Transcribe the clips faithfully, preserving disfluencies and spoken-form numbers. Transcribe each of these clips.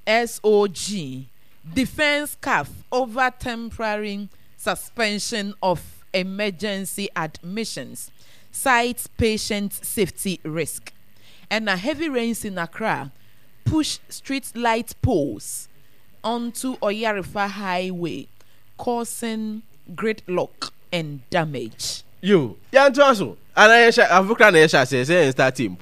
S O G defends CAF over temporary suspension of emergency admissions, cites patient safety risk. And a heavy rains in Accra push street light poles onto Oyarifa Highway, causing gridlock and damage. Yo, yɛntoa so ana yɛhyɛ afokra na yɛhyɛ aseɛ sɛ yɛn start team.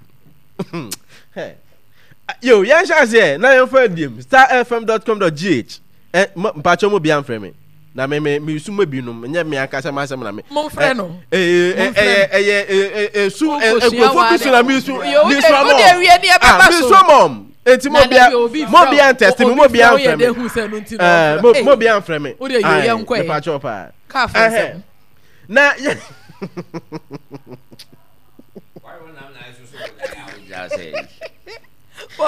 Yo, yɛnhyɛ aseɛ na yɛmfa adiem star F M dot com dot G H. Ɛ mpakyɛ mu bia mfrɛ me na me me me su mu binom nyɛ me ankasa ma asɛm na me Momfrɛ no. Ɛyɛ ɛyɛ ɛyɛ esu nkurɔfoɔ bi so na mi su mi su ama ɔm. Ah, mi su ama ɔm, eti mo bia mo bia ntɛsti mi, mo bia nfrɛ mi, ɛɛ mo mo bia nfrɛ mi. Ayi, mepakyɛw paa na yɛ. Yo,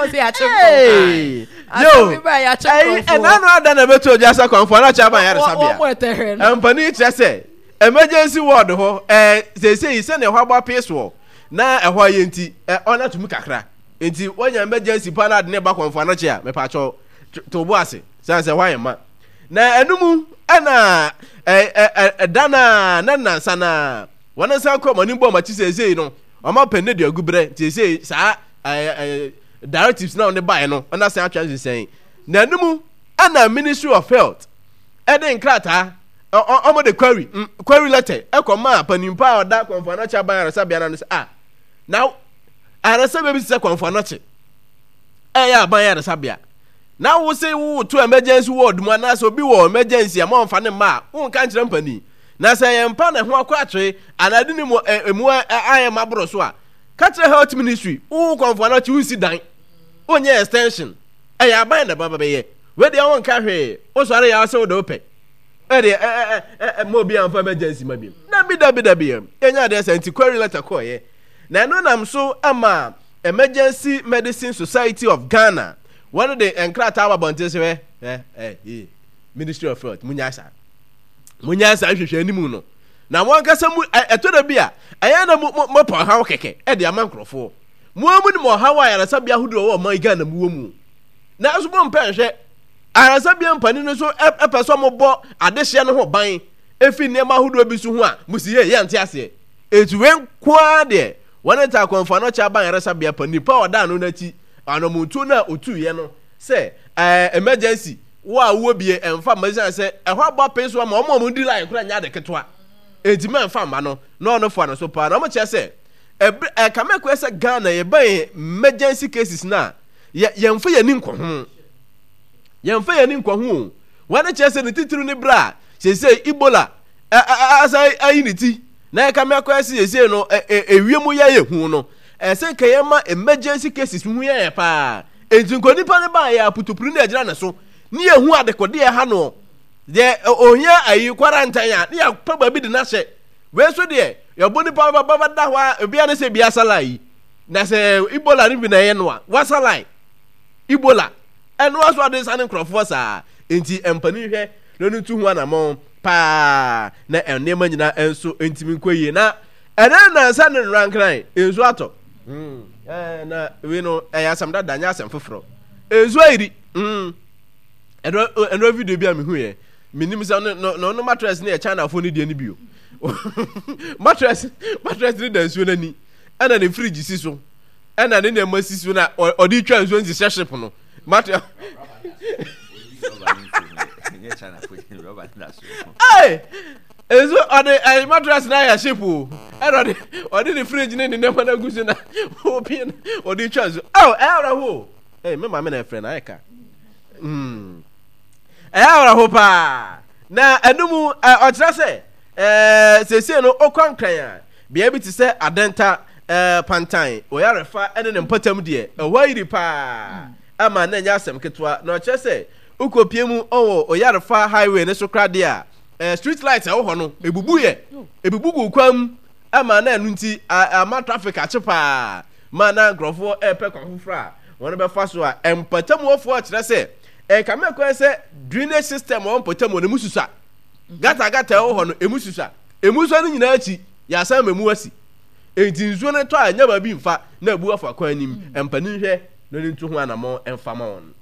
ɛna no ada na ɛbɛto ogya sɛ Kɔmfo Anɔkye aban yaresabea mpanin kyerɛ sɛ emergency ward hɔ ɛɛ seesei sɛnea ɛhɔ abɔ apee soɔ na ɛhɔ ayɛ nti ɛ ɔna tumi kakra, nti wɔnya emergency pa na ade ne ba Kɔmfo Anɔkye a, mepatwɔ to bo ase sɛ sɛ hɔ ayɛ ma na ɛno ɛna ɛ ɛ ɛda na na nansa na wɔn nsa kɔ wɔn anim bɔ wɔn akyi. Seesei no wɔn apɛ ne de agu berɛ, nti seesei saa ɛɛ ɛɛ directives na wɔde baeɛ no ɔna san atwa nsensɛn na ɛno ɛna Ministry of Health ɛde nkrataa ɔmo de query query letter ɛkɔ maa panimpa a ɔda Kɔmfo Anɔkye aban ayaresabea no sɛ, ah, na ayaresabea bi sɛ Kɔmfo Anɔkye ɛyɛ aban ayaresabea na wo se wo to emergency ward mu anaasɛ obi wɔ emergency a mo nfa ne mma a wonka nkyerɛ mpanin, na sɛ yɛn mpa na ɛho akɔ atwere anaa de ne mu emu ayɛ ma boro so a, ka kyerɛ Health Ministry. Wo Kɔmfo Anɔkye wonsi dan, wonyɛ extension, ɛyɛ aban na ɛba bɛyɛ. Wei deɛ wonka hwee, wosɔre yɛ sɛ wode wopɛ ɛdeɛ ɛ ɛ ɛ ma obi amfa emergency ma bi. Dabi, dabi, dabi, yɛnya adeɛ sɛ nti query letter kɔɔyɛ na ɛno nam so ama Emergency Medicine Society of Ghana wɔn de nkrataa aba abɔnten sɛ ɛ ɛ ɛ Ministry of Health, munya saa munya saa nhwehwɛ anim no na wɔn ankasa mu ɛtɔ da bi a ɛyɛ na mo mo mo pa ɔhaw kɛkɛ ɛde ama nkurɔfoɔ. Mo amu nim ɔhaw a ayaresabea ahodoɔ wɔ ɔman Ghana mu wɔ mu, nanso mo mpɛ nhwɛ ayaresabea mpanin no so ɛpɛ sɛ mo bɔ adehyeɛ no ho ban efi nneɛma ahodoɔ bi so ho a mo si yɛ yɛ nte aseɛ. Etu wei nkoa deɛ wɔn ta Kɔmfo Anɔkye aban ayaresabea pa nipa a ɔda ano n'akyi anamontuo no a otuiɛ no sɛ ɛɛ emergency wo a wowɔ bie ɛnfa mma, ɛsiane sɛ ɛhɔ abɔ apee so ama ɔmo a ɔmo di line koraa nyɛ ade ketewa, eti mɛ nfa mma no na ɔno fa no so paa. Na ɔmo kyerɛ sɛ ɛbere ɛkame kɔɛ sɛ Ghana yɛbɛn emergency cases na yɛ yɛnfa yɛn ani nkɔ ho, yɛnfa yɛn ani nkɔ ho o. Wɔn kyerɛ sɛ ne titiri ne bere a seesei Ebola ɛ ɛ asan ayi ne ti na ɛkame akɔɛ sɛ seesei no ɛ ɛ ewiem yɛ yɛ hu no, ɛsɛ nka yɛn ma emergency cases ho yɛ yɛ paa. Nti nka nipa no baa yɛ aputupuru na ɛgyina ne so ne yɛ hu adekode ɛha no deɛ ohia ayi quarantine a ne yɛ pɛ baabi de n'ahyɛ. Wei nso deɛ yɛbɔ nipa no ba bɛda hɔ a ebia ne sɛ ebi asa line yi na sɛ Ebola no bi na ɛyɛ no a wasa line Ebola ɛno aso ade nsa ne nkurɔfoɔ saa. Nti mpanin hwɛ na ɔno ntu ho anamɔn paa na nneɛma nyinaa nso ntumi nkɔ yie. Na ɛnɛ nansa ne nrankran nsuo atɔ mm. ɛɛ na wei no ɛyɛ asɛm dada, nyɛ asɛm foforɔ. Nsuo ayiri mm. ɛno ɛno video bi a mehu yɛ, menim sɛ no no no mattress no yɛ Chinafoɔ no deɛ no bio. mattress mattress no da nsuo no ani, ɛna ne fridge si so, ɛna ne nneɛma si so na ɔde twa nsuo nti hyɛ ship no mattress. Hey! Nso ɔde ɛyi mattress na ayɛ ship o, ɛna ɔde ɔde ne fridge ne ne nneɛma no agu so na obi ɔde twa nsuo. Ɛw, ɛyɛ awerɛho. Ɛy, me maame na ɛfrɛ na ayɛ ka. mm ɛyɛ awerɛho paa. Na ɛno mu ɔkyerɛ sɛ ɛɛ seesei no ɔkɔ Nkran a, bea bi te sɛ Adɛnta, ɛɛ Pantan, Ɔyarefa ɛne ne mpɔtam deɛ, ɛhɔ ayiri paa ama na ɛnyɛ asɛm ketewa. Na ɔkyerɛ sɛ wokɔpie mu ɔwɔ Ɔyarefa Highway ne so koraa deɛ a, ɛɛ street light ɛwɔ hɔ no ebubu yɛ ebubu gu kwan mu ama na ɛno nti ama traffic akye paa ma na nkurɔfoɔ ɛrepɛ kwan foforɔ a wɔn bɛfa so. A mpɔtamuɔfoɔ kyerɛ sɛ ɛkame kwan sɛ drainage system wɔ mpɔtamu no emu susa, gata gata ɛwɔ hɔ no emu susa, emu sua no nyinaa akyi yɛasan ma emu asi, enti nsuo no tɔ a ɛnyɛ baabi nfa na ebu afa kwan nim. Mpanin hwɛ na ne ntu ho anamɔ mfa ma wɔn.